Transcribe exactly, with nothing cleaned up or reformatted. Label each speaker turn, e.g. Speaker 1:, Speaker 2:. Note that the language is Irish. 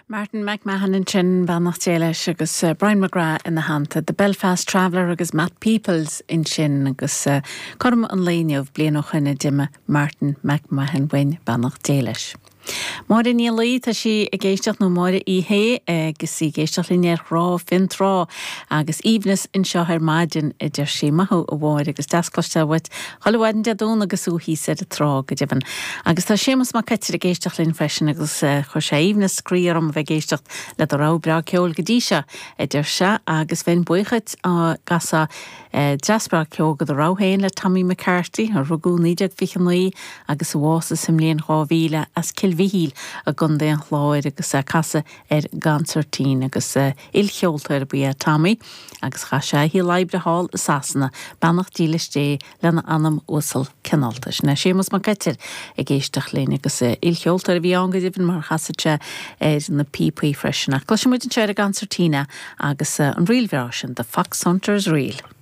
Speaker 1: Martin McMahon ansin beannacht Dé leis agus uh, Brian McGrath ina theannta, The Belfast Traveller agus Matt Peoples ansin agus uh, cothrom an lae inniu bliain ó shin a d'imigh Martin McMahon uainn beannacht Dé leis. Máire Ní Laoi tá sí ag éisteacht nó Máire í hé agus í ag éisteacht linn ar Thrá Fionntrá agus aoibhneas anseo ar maidin a deir sí maith thú a Mháire agus deas cloisteáil uait chuile mhaidin Dé Domhnaigh agus thú thíos ar an trá go deimhin. Agus tá Séamus Mac Coitir ag éisteacht linn freisin agus chuir sé aoibhneas croí orm bheith ag éisteacht le do rogha breá ceoil go dtí seo a deir sé agus bheinn buíoch dá gcasfá dreas breá ceoil de do rogha féin le Tommy McCarthy a rugadh naoi déag fiche naoi agus a bhásaigh sa mbliain dhá mhíle as Cill Mhichíl i gContae an Chláir agus casadh ar an gconsairtín agus ilcheoltóir ba ea Tommy agus chaith sé a shaol oibre thall i Sasana beannacht dílis Dé lena anam uasal cineálta. Sin é Séamus Mac Coitir ag éisteacht linn agus ilcheoltóir a bhí ann go deimhin mar chasadh sé ar na píopaí freisin. Ach cloisfidh muid anseo ar an gconsairtín agus an ríl bhreá sin, The Fox Hunters Reel.